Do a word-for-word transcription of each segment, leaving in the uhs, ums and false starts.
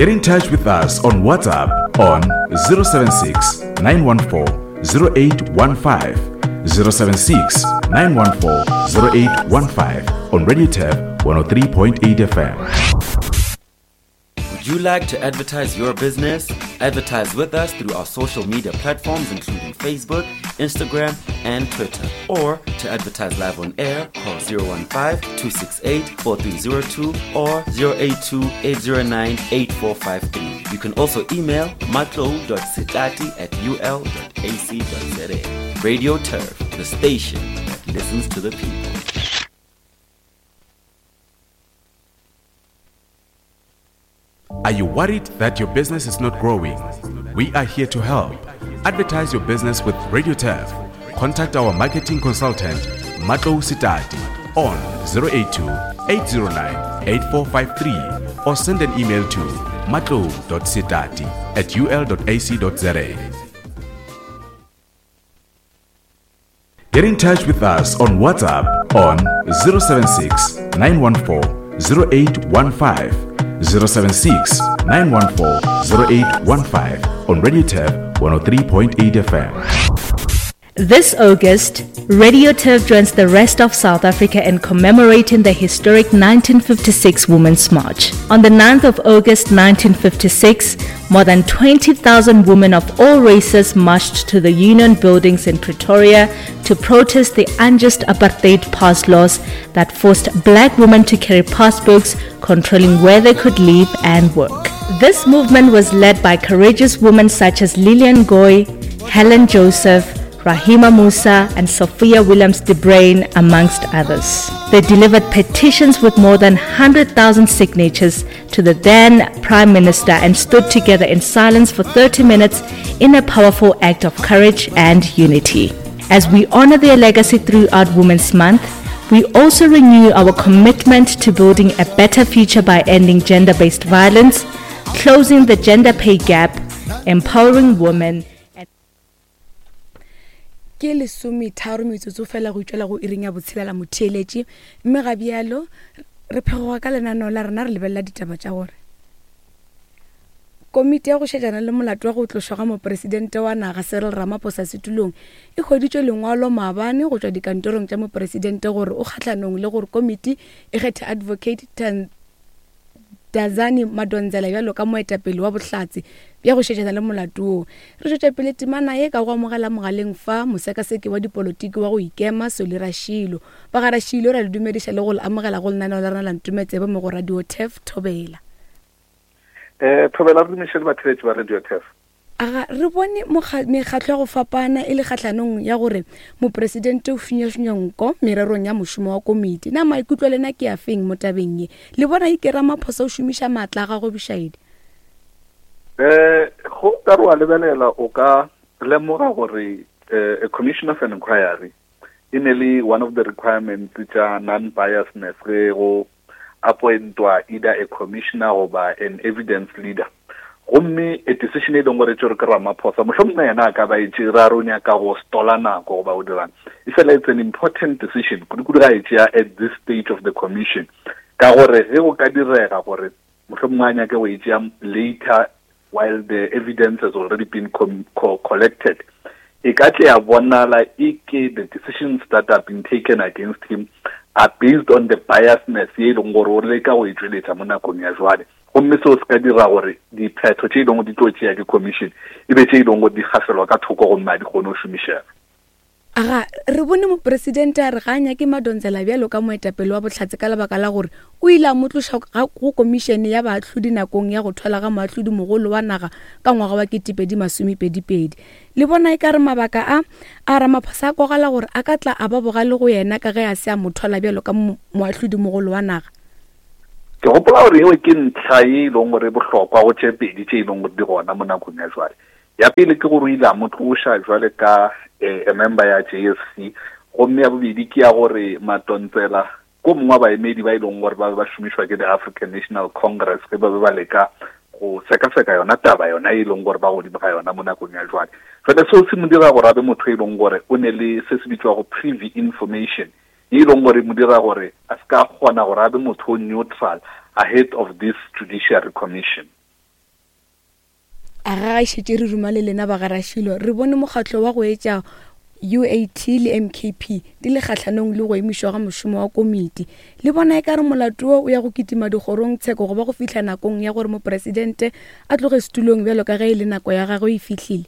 Get in touch with us on WhatsApp on zero seven six, nine one four, zero eight one five, zero seven six, nine one four, zero eight one five on Radio Turf one oh three point eight F M. Would you like to advertise your business? Advertise with us through our social media platforms including Facebook, Instagram, and Twitter. Or to advertise live on air, call zero one five, two six eight, four three zero two or zero eight two, eight zero nine, eight four five three. You can also email matlou dot setati at u l dot a c dot z a. Radio Turf, the station that listens to the people. Are you worried that your business is not growing? We are here to help. Advertise your business with Radio Turf. Contact our marketing consultant, Matlou Setati, on zero eight two, eight zero nine, eight four five three or send an email to matlou dot setati at u l dot a c dot z a. Get in touch with us on WhatsApp on zero seven six, nine one four, zero eight one five, zero seven six, nine one four, zero eight one five on Radio Turf one oh three point eight F M. This August, Radio Turf joins the rest of South Africa in commemorating the historic nineteen fifty-six Women's March. On the ninth of August nineteen fifty-six, more than twenty thousand women of all races marched to the Union Buildings in Pretoria to protest the unjust apartheid pass laws that forced black women to carry passbooks controlling where they could live and work. This movement was led by courageous women such as Lillian Goy, Helen Joseph, Rahima Moosa and Sophia Williams de Bruyn, amongst others. They delivered petitions with more than hundred thousand signatures to the then Prime Minister and stood together in silence for thirty minutes in a powerful act of courage and unity. As we honor their legacy throughout Women's Month, we also renew our commitment to building a better future by ending gender-based violence, closing the gender pay gap, empowering women. Ke lesometharo metsotso fela go itšwela go iring ya botshelela motheeletši, mme ga bjalo re phegoga ka lenaneo la rena re lebelela ditaba tša gore komiti ya go šetšana le molato wa go tlošwa ga mopresidente wa naga Cyril Ramaphosa setulong e hweditšwe lengwalo maabane go tšwa dikantorong tša mopresidente gore o kgahlanong le gore komiti e kgethe advocate Tandazani Madonsela bjalo ka moetapele wa bohlatse bja go šetšana le molato wo. Re tšwetša pele temana ye ka go amogela mogaleng fa mosekaseki wa dipolotiki wa go ikema Solly Rashilo. Ba ga Rashilo ra le dumediša le go le amogela go lenaneo la rena la Ntumetsebe mo go Radio Turf Thobela. Eh, Thobela re dumiše le batheeletši ba Radio Turf. Aga re bone mekgatlo ya go fapana e le kgahlanong ya gore mopresidente o finyafinya nko mererong ya mošomo wa komiti. Na maikutlo a lena ke a feng mo tabeng ye? Le bona e ke Ramaphosa o šomiša maatla a gagwe bošaedi? Eh, go ka re wa lebelela o ka lemoga gore, eh, a commission of an inquiry e ne le one of the requirements tša non-biasness ge go appointwa either a commissioner goba an evidence leader. Gomme a decision e leng gore tšere ke Ramaphosa, mohlomongwe yena a ka ba e tšere a re o nyaka go stola nako goba o dirang. E fela it's an important decision, kudu-kudu ga e tšea at this stage of the commission, ka gore ge go ka direga gore mohlomongwe a nyake go e tšea later while the evidence has already been com-, co-, collected, e ka tle ya bonala e ke the decisions that have been taken against him are based on the biasness ye e leng gore o leka go e tšweletša mo nakong ya jwale. Gomme seo se ka dira gore diphetho tše e leng gore di tlo tšea ke commission e be tše e leng gore di gafelwa ka thoko gomme a di kgone go šomišega. Aga re bone mopresidente a re ga a nyake Madonsela bjalo ka moetapele wa bohlatse ka lebaka la gore o ile a mo tloša ga-, go komišene ya baahlodi nakong ya go thwala ga moahlodi mogolo wa naga ka ngwaga wa ketepedi masomepedi-pedi. Le bona e ka re mabaka a, a Ramaphosa a kwagala gore a ka tla a ba bogale go yena ka ge a se a mo thwala bjalo ka mo-, moahlodi mogolo wa naga. Ke gopola gore eo ke ntlha e leng gore e bohlokwa go tše pedi tše e leng gore di gona mo nakong ya jwale. Ya pele ke gore o ile a mo tloša jwale ka, eh, a member ya J S C, gomme ya bobedi ke ya gore Madonsela ko mongwe wa baemedi ba e leng gore ba be ba šomišwa ke the African National Congress ge ba be ba leka go sekaseka yona taba yona e leng gore ba godimo ga yona mo nakong ya jwale. Jwale seo se mo dira gore a be motho e leng gore o ne le se se bitswago privy information, e leng gore mo dira gore a se ka kgona gore a be motho o neutral ahead of this judiciary commission. A ga ga šetše re ruma le lena ba garašilo, re bone mokgatlo wa go etša U A T le M K P di le kgahlanong le go emišwa ga mošomo wa komiti. Le bona e ka re molato wo o ya go kitima dikgorong tsheko go ba go fihla nakong ya gore mopresidente a tloge setulong bjalo ka ge e le nako ya gagwe e fihlile.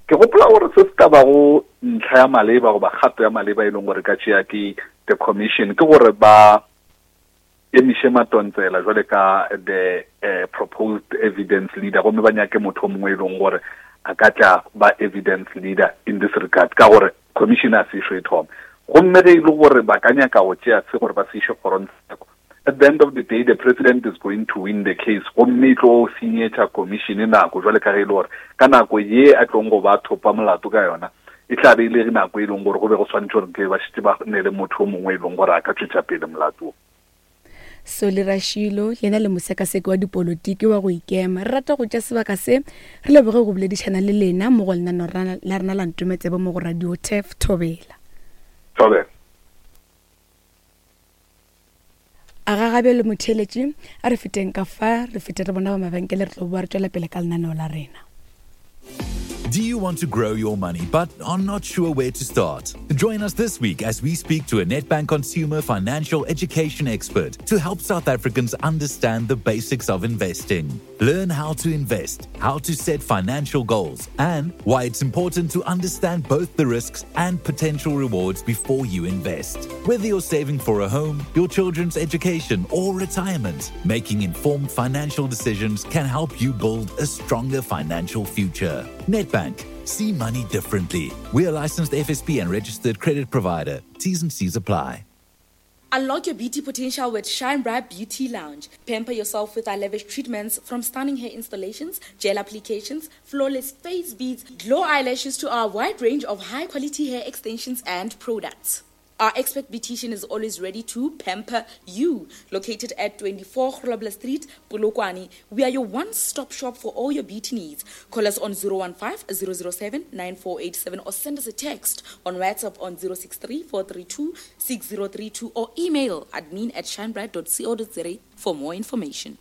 Ke gopola gore se se ka bago ntlha ya maleba goba kgato ya maleba e leng gore ka tšea ke the commission ke gore ba emiše Madonsela jwale ka the uh, proposed evidence leader, gomme ba nyake motho o mongwe e leng gore a ka tla ba evidence leader in this regard, ka gore commission a se išo e thome. Gomme ge e le gore ba ka nyaka go tšea se gore ba se iše kgorongtsheko, at the end of the day the president is going to win the case, gomme e tlo senyetša commission nako jwale ka ge e le gore ka nako ye a tlong go ba thopa molato ka yona e tla be e le nako e leng gore go be go swanetše gore ke ba šetše ba ne le motho o mongwe e leng gore a ka tšwetša pele molato. Solly Rashilo, yena le mosekaseki wa dipolotiki wa go ikema. Re rata go tša sebaka se re leboge go boledišana le lena mo go lenaneo la rena la Ntometsebe mo go Radio Turf. Thobela. Thobela. A ga gabe le motheeletši, a re feteng ka fa, re fete re bona ba mabenkele, re tlo boa re tšwela pele ka lenaneo la rena. Do you want to grow your money but are not sure where to start? Join us this week as we speak to a Nedbank consumer financial education expert to help South Africans understand the basics of investing. Learn how to invest, how to set financial goals, and why it's important to understand both the risks and potential rewards before you invest. Whether you're saving for a home, your children's education, or retirement, making informed financial decisions can help you build a stronger financial future. Nedbank. See money differently. We are licensed F S P and registered credit provider. T's and C's apply. Unlock your beauty potential with Shine Bright Beauty Lounge. Pamper yourself with our lavish treatments, from stunning hair installations, gel applications, flawless face beads, glow eyelashes to our wide range of high-quality hair extensions and products. Our expert beautician is always ready to pamper you. Located at twenty-four Grobler Street, Polokwane, we are your one-stop shop for all your beauty needs. Call us on zero one five, zero zero seven, nine four eight seven or send us a text on WhatsApp on zero six three, four three two, six zero three two or email admin at shinebright dot co dot za for more information.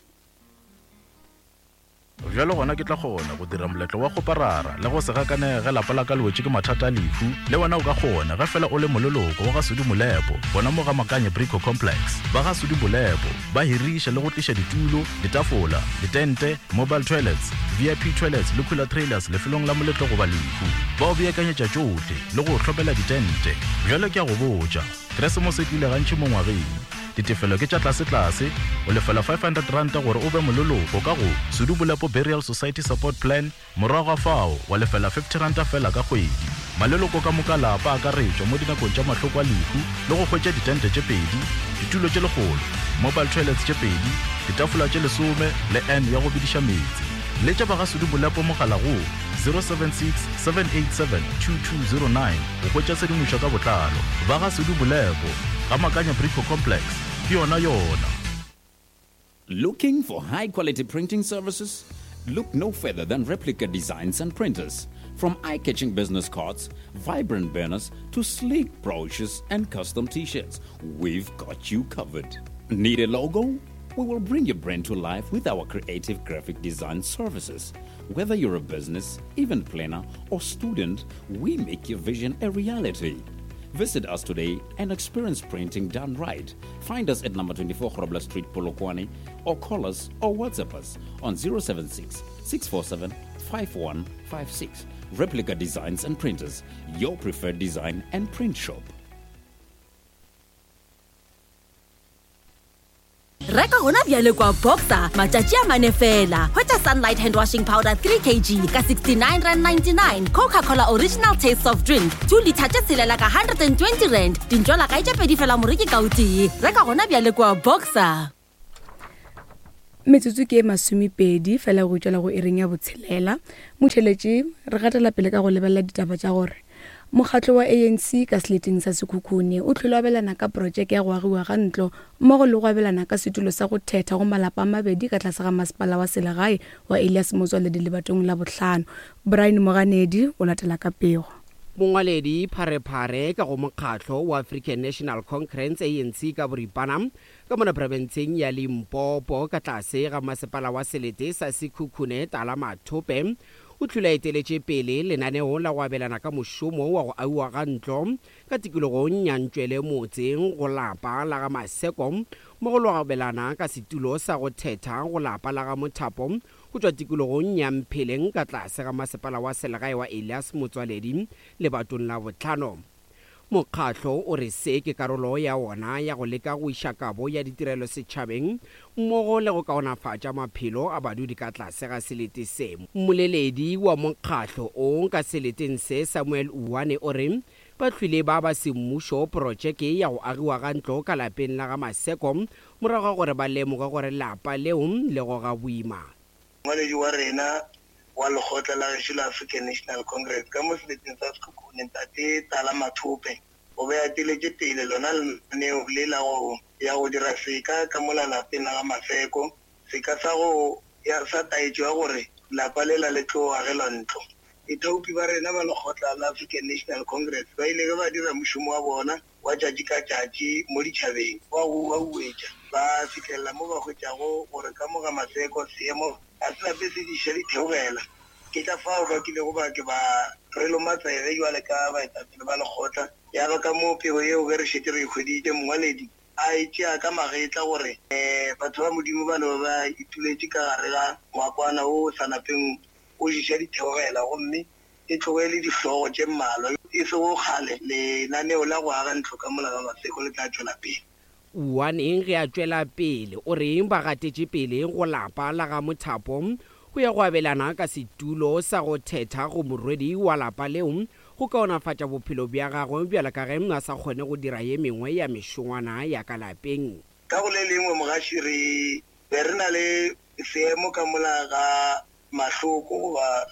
Bjalo gona ke tla kgona go dira moletlo wa go parara le go se gakane ge lapa la ka le wetše ke mathata a lehu. Le wena o ka kgona ge fela o le moleloko wa ga Sudi Molepo, bona mo ga Makanye Brico Complex. Ba ga Sudi Molepo ba hiriša le go tliša ditulo, ditafola, ditente, mobile toilets, V I P toilets le cooler trailers lefelong la moletlo goba lehu. Ba o beakanyetša tšohle le go hlopela ditente. Bjalo ke a go botša, Keresemose e tlile gantši mo ngwageng. Ditefelo ke tša tlase-tlase, o lefela five hundred rand gore o be moleloko ka go Sudi Molepo Burial Society Support Plan, morago ga fao wa lefela fifty rand fela ka kgwedi. Maleloko ka moka lapa a akaretšwa mo dinakong tša mahloko a lehu le go hwetša ditente tše pedi, ditulo tše lekgolo, mobile toilets tše pedi, ditafola tše lesome le N ya go bediša meetse. Letša ba ga Sudi Molepo mogala go zero seven six, seven eight seven, two two zero nine go hwetša tshedimošo ka botlalo. Ba ga Sudi Molepo ga Makanya Brico Complex, ke yona yona. Looking for high quality printing services? Look no further than Replica Designs and Printers. From eye-catching business cards, vibrant banners, to sleek brochures and custom t-shirts, we've got you covered. Need a logo? We will bring your brand to life with our creative graphic design services. Whether you're a business, event planner, or student, we make your vision a reality. Visit us today and experience printing done right. Find us at number twenty-four Grobler Street, Polokwane, or call us or WhatsApp us on zero seven six, six four seven, five one five six. Replica Designs and Printers, your preferred design and print shop. Reka gona bjale kwa Boxer matšatši a mane fela. Hwetša Sunlight hand washing powder three kilograms ka sixty-nine rand ninety-nine, Coca-Cola original taste soft drink two litre tše tshelela ka hundred and twenty rand, dintšwala kae tše pedi fela moreki ka o tee. Reka gona bjale kwa Boxer. Metsotso ke e masomepedi fela go tšwela go ering ya botshelela. Motheeletši, re gatela pele ka go lebelela ditaba tša gore mokgatlo wa A N C ka seleteng sa Sekhukhune o tlhole abelana ka projeke ya go agiwa ga ntlo mmogo le go abelana ka setulo sa go thetha go malapa a mabedi ka tlase ga masepala wa selegae wa Elias Motsoaledi lebatong la bohlano. Brian Moganedi o latela ka pego. Mongwaledi pharephare ka go mokgatlo wa African National Congress A N C ka boripana ka mona profenseng ya Limpopo ka tlase ga masepala wa selete sa Sekhukhune Tala Mathope o tlhula eteletše pele lenaneo la go abelana ka mošomo wa go auwa ga ntlo ka tikologong ya Ntšwele motseng go lapa la ga Maseko mo go lo abelana ka setulo sa go thetha go lapa la ga Mothapo go tšwa tikologong ya Mpheleng ka tlase ga masepala wa selegae wa Elias Motswaledi lebatong la botlhano. Mokgatlo o re se ke karolo ya wona ya go leka go iša kabo ya ditirelo setšhabeng mmogo le go kaonafatša maphelo a badudi ka tlase ga selete se. Mmoleledi wa mokgatlo o ka seleteng se Samuel Uwane o re ba hlwile ba ba semmušo projeke ya go agiwa ga ntlo ka lapeng la ga Maseko morago ga gore ba lemoge gore lapa leo le goga boima. Mongwaledi wa rena wa lekgotla la gešo la African National Congress ka mo seleteng sa Sekhukhune ntate Tala Mathope o be a teletše pele lona lenaneo le la go ya go dira seka ka mola lapeng la ga Maseko, seka sa go ya sa taetšo ya gore lapa lela le tlo agelwa ntlo. Baithaopi ba rena ba lekgotla la African National Congress ba ile ge ba dira mošomo wa bona wa tšatši ka tšatši mo ditšhabeng wa go uetša ba fihlelela mo ba hwetšago gore ka mo ga Maseko seemo a se lape se diša ditheogela. Ke ka fao ba kilego ba ke ba re loma tsebe jwale ka baetapele ba lekgotla ya ba ka moo pego yeo ge re šetše re e hweditše mongwaledi a e tšea ka magetla gore um batho ba Modimo ba ne ba ituletše ka gare ga ngwakwana wo o sa napeng o diša ditheogela gomme e tloge le dihlogo tše mmalwa e sego kgale lenaneo la go aga ntlo ka mola ga Maseko le tla tšwela pele. Uwaneng ge a tšwela pele o reng ba gatetše pele go lapa la ga Mothapo go ya go abelana ka setulo sa go thetha go morwedi wa lapa leo go kaonafatša bophelo bja gagwe bjalo ka ge a sa kgone go dira ye mengwe ya mešongwana ya ka lapeng. Ka go le lengwe mogaši re be re na le seemo ka mola ga Mahloko goba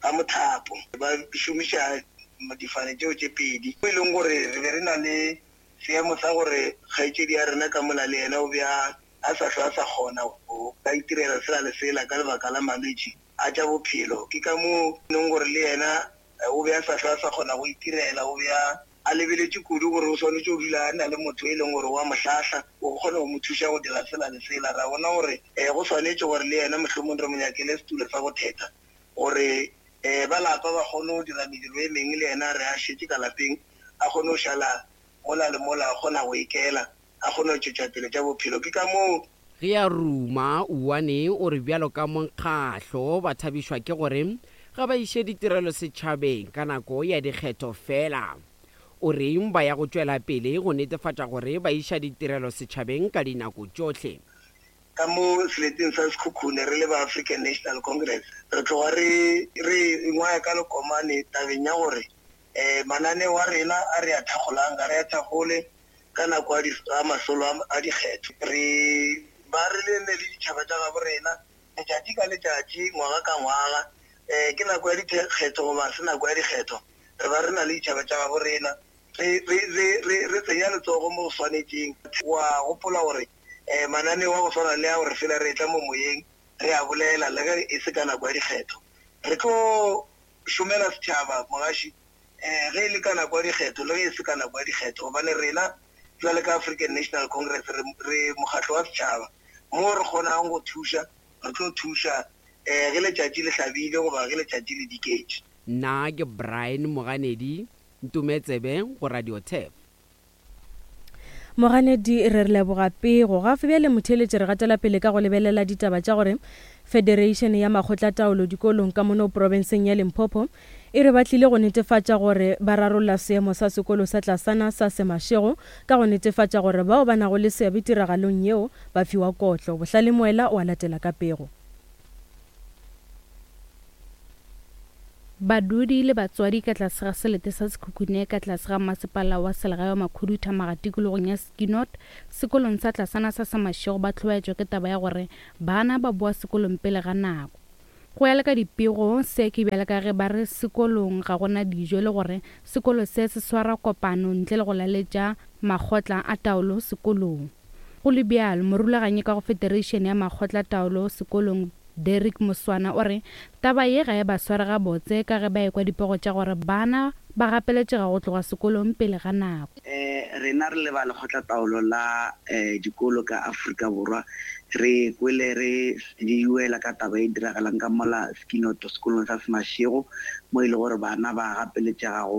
ga Mothapo ba šomiša difane tšeo tše pedi e leng gore re be re na le seemo sa gore kgaetšedi ya rena ka mola le yena o be a sa hlwe a sa kgona go ka itirela sela le sela ka lebaka la malwetši a tša bophelo. Ke ka moo leng gore le yena o be a sa hlwe a sa kgona go itirela, o be a lebeletše kudu gore o swanetše go dula a na le motho e leng gore wa mo hlahla o kgone go mo thuša go dira sela le sela. Ra bona gore um go swanetše gore le yena mohlomong re mo nyakele setulo sa go thetha gore um ba lapa ba kgone go dira mediro e mengwe le yena re a šetše ka lapeng a kgone go šala mola le mola a kgona go ikela a kgone go tšwetša pele tša bophelo. Ke ka moo ge a ruma Uwane o re bjalo ka mokgatlo ba thabišwa ke gore ga ba iše ditirelo setšhabeng ka nako ya dikgetho fela. O reng ba ya go tšwela pele go netefatša gore ba iša ditirelo setšhabeng ka dinako tšohle. Ka mo seleteng sa Sekhukhune re le ba African National Congress re tloga re re ingwaya ka lekomane tabeng ya gore um mananeo a rena a re a thakgolang ga re a thakgole ka nako a masolo a dikgetho. Re ba re le ne le ditšhaba tša gabo rena letšatši ka letšatši ngwaga ka ngwaga um ke nako ya dikgetho goba se nako ya dikgetho re ba re na le ditšhaba tša gabo rena re re re re tsenya letsogo mo go swanetšeng. Wa gopola gore um mananeo a go swana le a gore fela re tla mo moyeng re a bolela le ge e se ka nako ya dikgetho. Re tlo šomela setšhaba mogaši um ge e le ka nako ya dikgetho le ge e se ka nako ya dikgetho gobane rena jwale ka African National Congress re re mokgatlo wa setšhaba mo re kgonang go thuša re tlo thuša um ge letšatši le hlabile goba ge letšatši le diketše. Nna ke Brian Moganedi Ntumetsebe go Radio Turf. Moganedi re re leboga pego. Gafe bjale motheeletši re gatela pele ka go lebelela ditaba tša gore Federation ya makgotlataolo dikolong ka mono profenseng ya Limpopo e re ba tlile go netefatša gore ba rarolla seemo sa sekolo sa tlasana sa Semašego ka go netefatša gore bao ba nago le seabe tiragalong yeo ba fiwa kotlo. Bohlale Moela o a latela ka pego. Badudi le batswadi ka tlase ga selete sa Sekhukhune ka tlase ga masepala wa selegae wa Makhuduthamaga tikologong ya Skinot sekolong sa tlasana sa Semašego ba hlobaetšwa ke taba ya gore bana ba boa sekolong pele ga nako. Go ya le ka dipego se ke bjale ka ge ba re sekolong ga gona dijo le gore sekolo se se swara kopano ntle le go laletša makgotla a taolo sekolong. Go le bjalo morulaganyi ka go Federation ya makgotla taolo sekolong Derek Moswana o re taba ye ga e ba sware gabotse ka ge ba ekwa dipego tša gore bana ba gapeletšega go tloga sekolong pele ga nako. Um rena re le ba lekgotlataolo la um dikolo ka Afrika Borwa re kwele re diuela ka taba e diragalang ka mola Skinoto sekolong sa Semašego mo e le gore bana ba gapeletšega go